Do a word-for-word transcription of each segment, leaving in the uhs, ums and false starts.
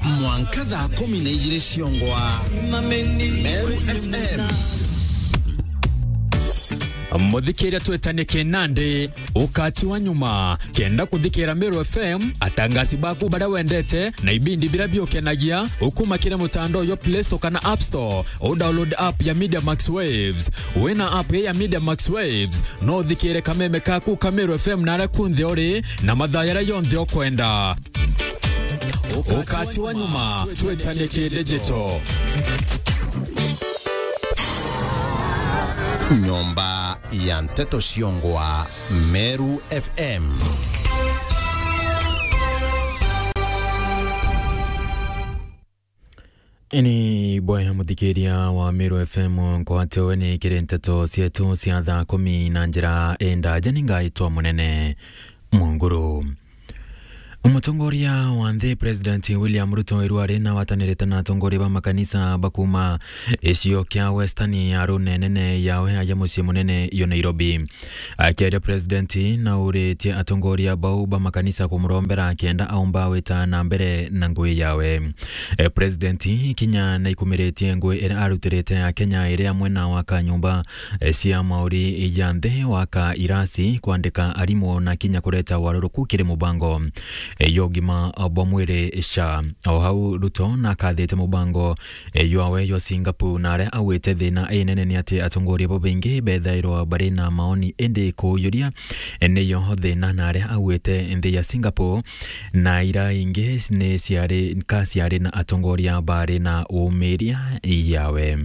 Mwanka thaa kumi na ijiri ciongwa. Meru F M. Muthikiria, twetanie kinandi ukati wa nyuma. Kenda kuthikira Meru F M, atangasi baku baria wendete na ibindi biria biukenagia, ukuma kiri mutandao jwa Play Store kana App Store, u download app ya Media Max Waves. Wina app ya Media Max Waves, no uthikire kameme kaku ka Meru F M naria kunthe uri na mathaa jaria jonthe ukwenda. Ukati wa nyuma, twetanie ki digital. Nyomba ya nteto ciongwa, Meru F M. Ini bwaya muthikiria wa Meru F M, nkwate we ni kiri nteto cietu cia thaa kumi na njira indaja. Ni ngaitwa Munene Mwanguru. Mutongoria wa nthi President William Ruto iru ari na watanirite na atongoria ba makanisa ba kuuma icio kia Western ya runenene yawe aja mucii munene yo Nairobi. Akiaria President nauritie atongoria bau ba makanisa kumurombera kenda aumba wita na mbere na ngui yawe. E, President kinya naikumiritie ngui iria arutirite ya Kenya iri amwe na waka nyumba, e, cia mauri ya nthi, waka irasi, kwandika arimu na kinya kureta waruruku kiri mubango, e, ya ugima bwa mwiri, SHA. O hau Ruto nakathite mubango, e, jwawe jwa Singapore, na aria augite thina inene ni ati atongoria babaingi bethairwa bari na maoni, indi kuujuria, e, niyo thina, na aria augite nthi ya Singapore na ira ingi ni ciari, ka ciari na atongoria bari na umiria yawe.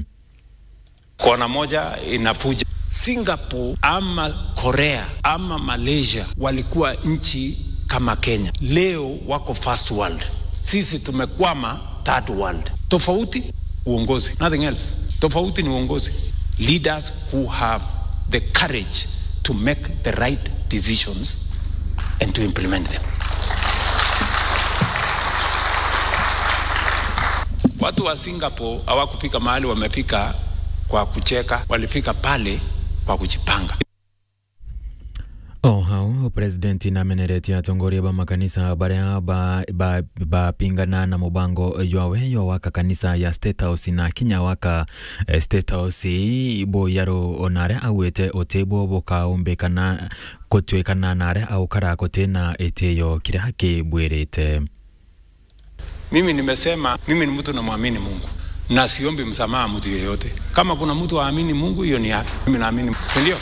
Kona moja inavuja. Singapore ama Korea ama Malaysia walikuwa nchi kama Kenya. Leo wako first world. Sisi tumekwama third world. Tofauti uongozi. Nothing else. Tofauti ni uongozi. Leaders who have the courage to make the right decisions and to implement them. Watu wa Singapore hawakufika mahali wamefika kwa kucheka, walifika pale kwa kujipanga. O hau, President nameneretie atongoria ba makanisa baria ba, ba, bapingana na mubango jwawe jwa waka kanisa ya State House na kinya waka, eh, State House buyaru, ona aria augite uti bwo bukaumbikana gutwikana na aria aukara gutina itiyo kiria kibwirite. Mimi nimesema, mimi ni mtu namwamini Mungu na siombi msamaha mtu yeyote. Kama kuna mtu haamini Mungu, hiyo ni yake. Mimi naamini, si ndio?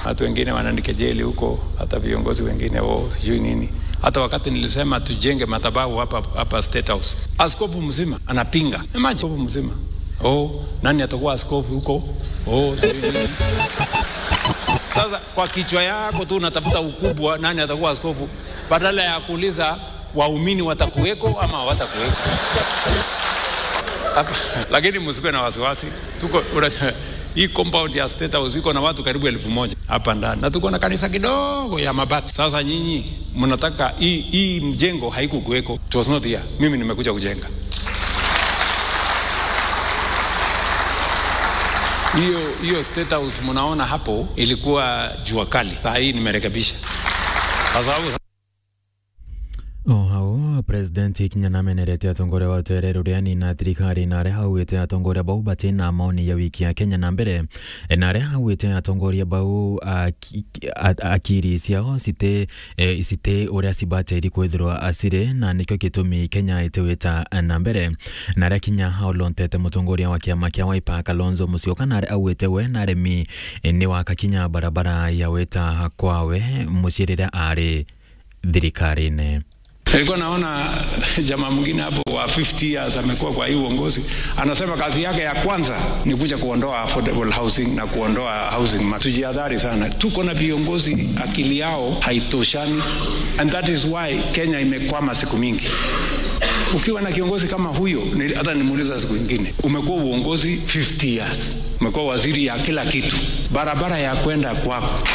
Watu wengine wananikejeli huko, hata viongozi wengine, "Oh, sijui nini." Hata wakati nilisema tujenge madhabahu hapa, hapa State House, askofu mzima anapinga. Imagine, askofu mzima. "Oh, nani atakuwa askofu huko? Oh, sijui nini." Sasa kwa kichwa yako tu unatafuta ukubwa, nani atakuwa askofu, badala ya kuuliza waumini watakuweko ama hawatakuweko. Hapa, lakini msikuwe na wasiwasi. Tuko, una-, hii compound ya State House iko na watu karibu elfu moja hapa ndani. Na tuko na kanisa kidogo ya mabati. Sasa nyinyi mnataka hii, hii mjengo haikukuweko. It was not here. Mimi nimekuja kujenga. Hiyo, hiyo State House mnaona hapo ilikuwa jua kali. Saa hii nimerekebisha. Kwa sababu O hau, President kinya namenerete atongoria ba ruteere ruria ni na thirikari, na aria augite atongoria bau bati na maoni ya wiki ya Kenya na mbere, na aria augite atongoria bau aki-, a-, akiri ciao citi, eh, citi uria cibatiri kwithirwa ciri, na nikio gitumi Kenya itiwita na mbere. Na aria kinya aolontete mutongoria wa kiama kia Wiper, Kalonzo Musyoka, na aria augite we na aremi, eh, ni waka kinya barabara ya wita kwawe mucii riria ari thirikarine. Nilikuwa naona jamaa mwingine hapo wa fifty years amekuwa kwa hii uongozi, anasema kazi yake ya kwanza ni kuja kuondoa affordable housing na kuondoa housing ma-, tujihadhari sana. Tuko na viongozi akili yao haitoshani, and that is why Kenya imekwama siku mingi. Ukiwa na kiongozi kama huyo, ni-, hata nimuuliza siku ingine, umekuwa uongozi fifty years. Umekuwa waziri ya kila kitu. Barabara ya kwenda kwako.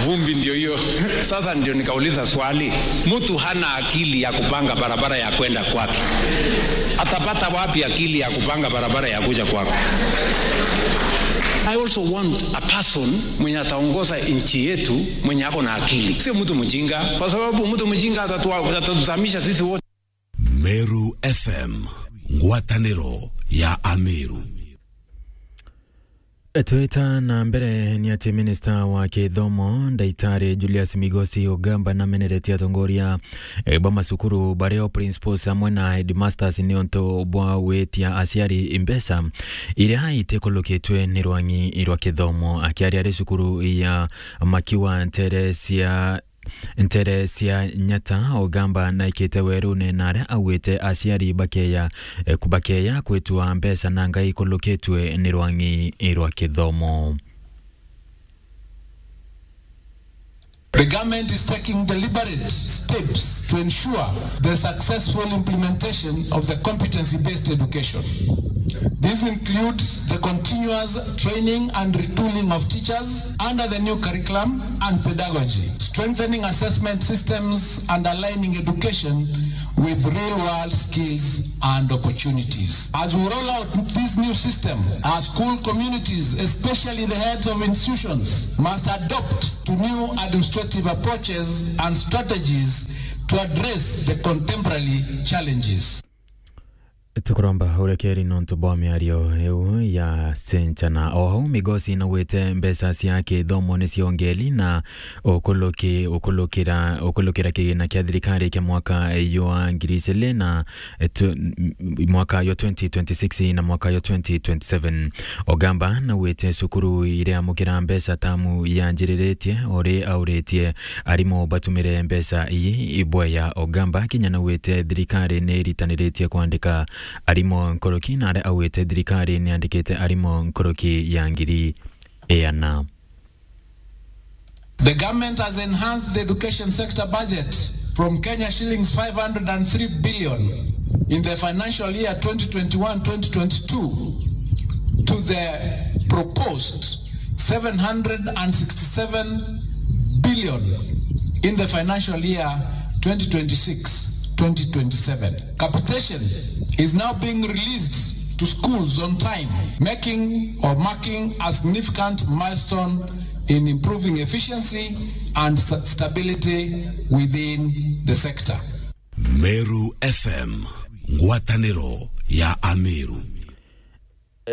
Vumbi ndio hiyo. Sasa ndio nikauliza swali. Mtu hana akili ya kupanga barabara ya kwenda kwake. Atapata wapi akili ya kupanga barabara ya kuja kwako? I also want a person mwenye ataongoza nchi yetu mwenye ako na akili. Sio mtu mjinga, kwa sababu mtu mjinga atatu-, atatuzamisha sisi wote. Meru F M, ngwataniro ya Ameru. Twita na mbere ni ati minista wa kithomo, Ndaitari Julius Migosi Ogamba, nameneretie atongoria, eh, ba macukuru baria o principals amwe na headmasters ni untu bwa gwitia aciari mbeca iria itikulukitwe ni rwang'i rwa kithomo. Akiaria ari cukuru ya Makiwa Ntere cia ntere cia Nyata, Ogamba naikite werune na aria augite aciari bakeya, eh, ku-, bakeya kwitua mbeca na ngai ikulukitwe ni rwang'i rwa kithomo. The government is taking deliberate steps to ensure the successful implementation of the competency-based education. This includes the continuous training and retooling of teachers under the new curriculum and pedagogy, strengthening assessment systems and aligning education with real-world skills and opportunities. As we roll out this new system, our school communities, especially the heads of institutions, must adopt to new administrative approaches and strategies to address the contemporary challenges. Tukuromba urekeri nontu bwa miario iu ya Senchana. O hau, Migosi naugite mbeca cia kithomo ni ciongeli na ukuluki-, ukulukira, ukulukira kigina kia thirikari kia mwaka jwa ngiri igiri na, eh, tu-, m-, mwaka jwa twenty twenty-six na mwaka jwa twenty twenty-seven. Ogamba naugite cukuru iria amukira mbeca tamu yanjiriritie, uri auritie arimu batumire mbeca ii ibweya. Ogamba kinya naugite thirikari ni iritaniritie kwandika arimu nkuruki, na aria augite thirikari ni yandikite arimu nkuruki ya ngiri iana. The government has enhanced the education sector budget from Kenya shillings five hundred and three billion in the financial year twenty twenty-one twenty twenty-two to the proposed seven hundred and sixty-seven billion in the financial year twenty twenty-six twenty twenty-seven. Capitation is now being released to schools on time, making or marking a significant milestone in improving efficiency and sta-, stability within the sector. Meru F M, ngwataniro ya Ameru.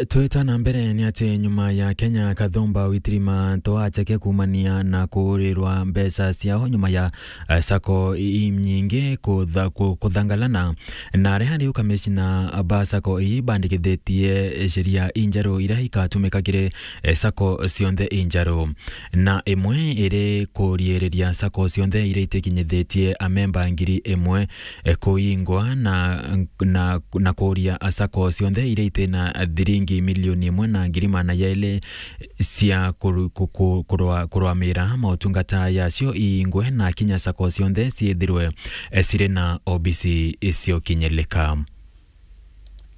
Twita na mbere ni ati nyuma ya Kenya Kathumba Witirima Ntoacheke kuumania na kuurirwa mbeca ciao nyuma ya, eh, sacco inyingi kutha-, ku-, kuthangalana, na aria riu kamishina ba sacco ii bandikithitie sheria injeru iria ikatumika kiri, eh, sacco cionthe injeru, na imwe iri kuriiriria sacco cionthe iria itikinyithitie amemba ngiri imwe, eh, kuingwa na, na, na kuuria sacco cionthe iria itina thiringi milioni imwe na ngiri magana jairi cia kuru-, ku-, ku-, kurwa-, kurwamira mautungata yacio iingwe na kinya sacco cionthe ciithirwe, eh, ciri na obisi cio kinyilika.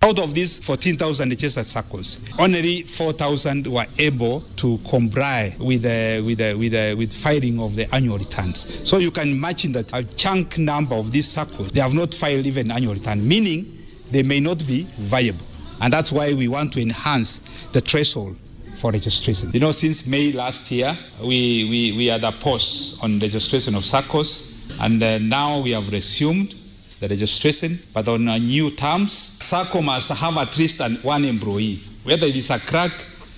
Out of these fourteen thousand registered saccos, only four thousand were able to comply with the, with the, with the, with filing of the annual returns. So you can imagine that a chunk number of these saccos, they have not filed even annual return, meaning they may not be viable. And that's why we want to enhance the threshold for registration. You know, since May last year, we, we, we had a pause on registration of saccos, and, uh, now we have resumed the registration, but on a new terms. Sacco must have at least an, one employee, whether it is a clerk,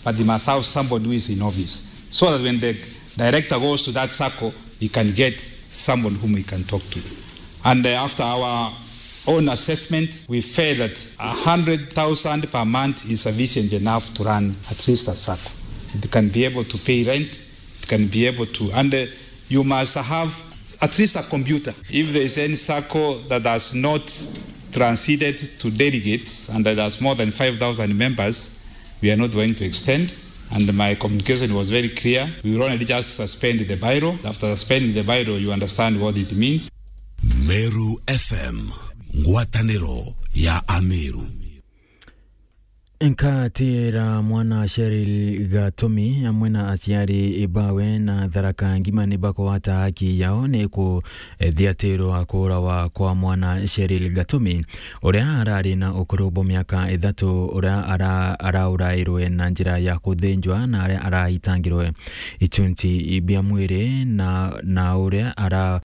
but they must have somebody who is in office, so that when the director goes to that sacco, he can get someone whom he can talk to. And, uh, after our own assessment, we felt that a hundred thousand per month is sufficient enough to run at least a sacco. It can be able to pay rent, it can be able to, and, uh, you must have at least a computer. If there is any sacco that has not transited to delegates and that has more than five thousand members, we are not going to extend. And my communication was very clear. We will only just suspend the bylaw. After suspending the bylaw, you understand what it means. Meru F M, ngwataniro ya Ameru. Nkatira mwana Cheryl Gatumi amwe na aciari bawe na Tharaka Ngima ni bakugwata haki yao ni kuthiatirwa kuurawa kwa mwana Cheryl Gatumi, uria arari na ukuru bwa miaka ithatu, uria ara-, araurairwe na njira ya kuthinjwa na aria arahitangirwe ichunchi bia mwiri na, na uria ara-,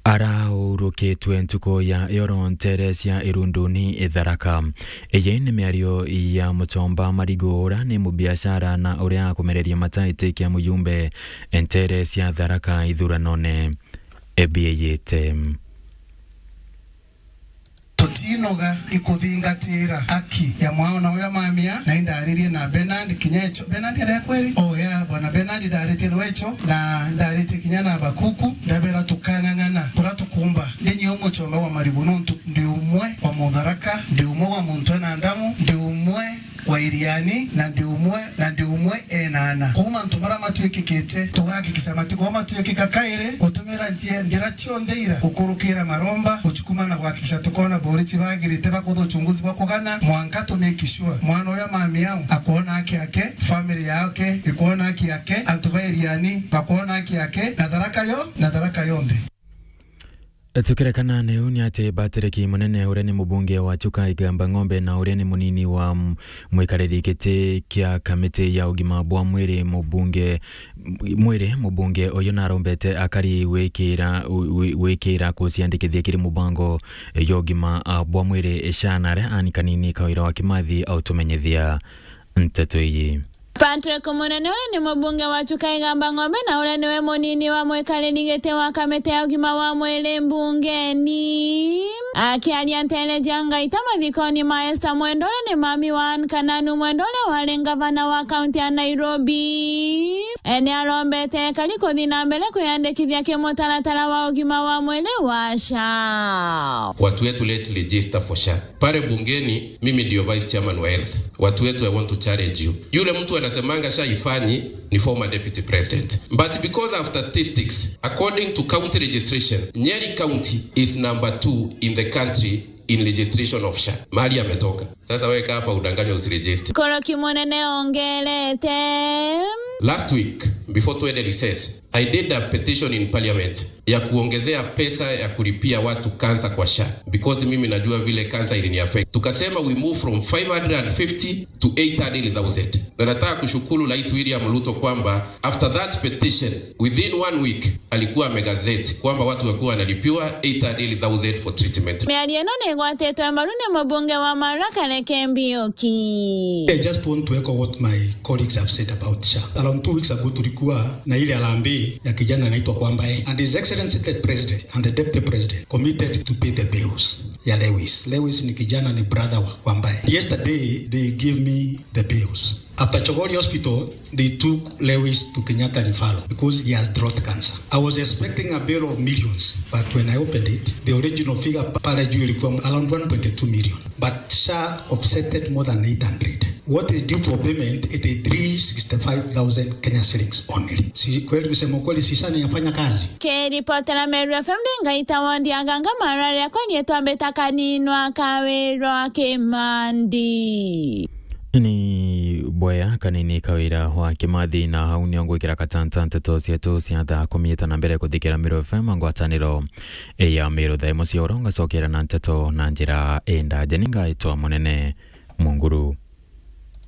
Araurukitwe ntuku ya iyoro nteere cia Irunduni, Tharaka. Iyi ni miario ya Muchomba Marigu, uria ni mubiashara na uria akumereria mataiti kia mujumbe nteere cia Tharaka ithuranone biiyite. Tutinoga ikuthingatira haki ya mwana uria mamia, na indaririe na Bernard kinya echo. Bernard aria kweri? Oh, yeah, bwana Bernard ndaritie na wecho, na ndaritie kinya na Bakuku, ndabera tukang'ang'ana, turia tukumba. Ndinyi umuchomba wa Marigu nontu ndi umwe wa Mutharaka, ndi umwe wa muntu ena ndamu, ndi umwe wa Iriani, na ndi umwe, na ndi umwe enana. Kou mantu maria matwikikite, tugakikisha matikorwa matwikika kairi, gutumira njia, njira cionthe ira, gukurukira maromba, guchukuma na gwakikisha tukona borichi bagirite bakutha uchunguzi bwa kugana, mwanka tu make sure mwana uyu amami au akwona haki yake, family yake ikwona haki yake, antu ba Iriani bakwona haki yake, na Tharaka yo, na Tharaka yonthe. Tukirekana neu ni ati Patrick Munene, uria ni mubunge wa Chuka Igamba Ng'ombe na uria ni munini wa m-, mwikariri giti kia kamiti ya ugima bwa mwiri mubunge, mwiri mubunge uyu narombete akari wikira, wi-, wikira kuciandikithia kiri mubango ya ugima, a, bwa mwiri SHA, na aria ani kanini Kawira wa Kimathi autumenyithia nteto iji. Patrick Munene, uria ni mubunge wa Chuka Igamba Ng'ombe na uria niwe munini wa mwikariri giti wa kamiti ya ugima wa mwiri mbungeni, akiaria nteere cia Ngaita mathikoni ma Esther Mwendwa, uria ni mami wa Anne Kananu Mwendwa, uria wari ngavana wa kaunti ya Nairobi, e, ni arombete ekari kuthi na mbere kwiyandikithia kimutaratara wa ugima wa mwiri wa SHA. Watu wetu, let's register for SHA. Pale bungeni, mimi ndio vice chairman wa health. Watu wetu, I want to challenge you. Yule mtu anasemanga SHA ifanyi ni former deputy president. But because of statistics, according to county registration, Nyeri County is number two in the country in registration of SHA. Mahali ametoka. Sasa wewe kaa hapa udanganywe usiregister. Koroki Munene ongerete. Last week, before twende recess, I did a petition in parliament ya kuongezea pesa ya kulipia watu cancer kwa SHA, because mimi najua vile cancer ilini affect. Tukasema we move from five hundred and fifty to eight hundred thousand. Na nataka kushukuru Rais William Ruto kwamba after that petition, within one week, alikuwa amegazette kwamba watu wakuwa wanalipiwa eight hundred thousand for treatment. Miario ino ni igwatitwe mbaru ni mubunge wa Maraka Reke Mbiuki. I just want to echo what my colleagues have said about SHA. Around two weeks ago tulikuwa na ile harambee ya kijana anaitwa Kwambae, and His Excellency the President and the Deputy President committed to pay the bills ya Lewis. Lewis ni kijana, ni brother wa Kwambae. Yesterday they gave me the bills. After Chogoria Hospital, they took Lewis to Kenyatta Referral because he has throat cancer. I was expecting a bill of millions, but when I opened it, the original figure pale juu ilikuwa around one point two million. But SHA offsetted more than eight hundred. What is due for payment is three sixty-five thousand Kenya shillings only. Si kweli, kusema kweli, si SHA inafanya kazi? Kiripotera Meru F M ndi Ngaita wondi Aganga, marari akwa ni twambita kaninwa Kawirwa Kimandi. Ni bwea kanini Kawira wa Kimathi, na hau nio ngwikira katanta nteto cietu cia thaa kumi ita na mbere kuthikira Meru F M ngwataniro ya Meru thaa imwe cia oro, ngacokera na nteto na njira indaja. Ni ngaitwa Munene Munguru.